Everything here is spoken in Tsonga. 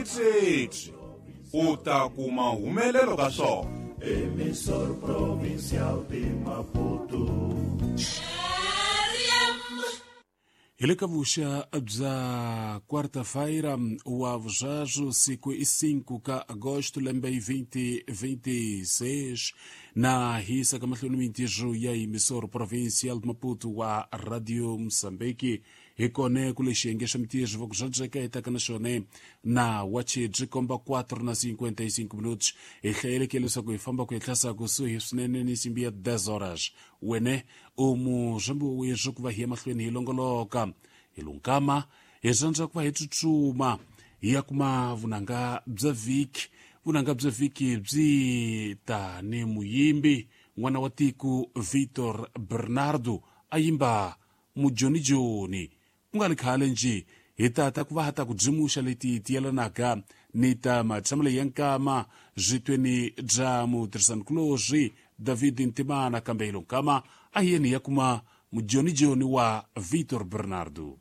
Sweswi u ta kuma humelelo ka swona. Emissor Provincial de Maputo. Hi le ka vuxa bya quarta-feira wa vusweswo siku i 5 ka agosto lembe i 2026 na hisa ka mahlweni mintirho ya emissor provincial de Maputo wa Radio Mozambique. Hi kone ku le xiyenge xa mintirho va ku swa etaka na xone na wachi byi komba 4 na 55 minutos. Hi hlayeleke leswaku hi famba ku ehlasa kusuhi swinene ni nsimbi ya 10 horas. Wene u muzambi weswo ku va hi ya mahlweni hi longoloka hi lunkama hi rhandza ku va hi tsutsuma hi ya kuma vunanga bya vhiki. Vunanga bya vhiki byi ta ni muyimbi n'wana wa tiko Victor Bernardo a yimba mujonijoni. Ku nga ri khale nje hi tata ku va ha ta ku dzimuxa leti ti yelanaka ni ta matshamelo ya nkama zwitweni bya mutirhisanikulorhi David Ntimana, kambe hi lo nkama a hi yeni ya kuma mujonijoni wa Victor Bernardo.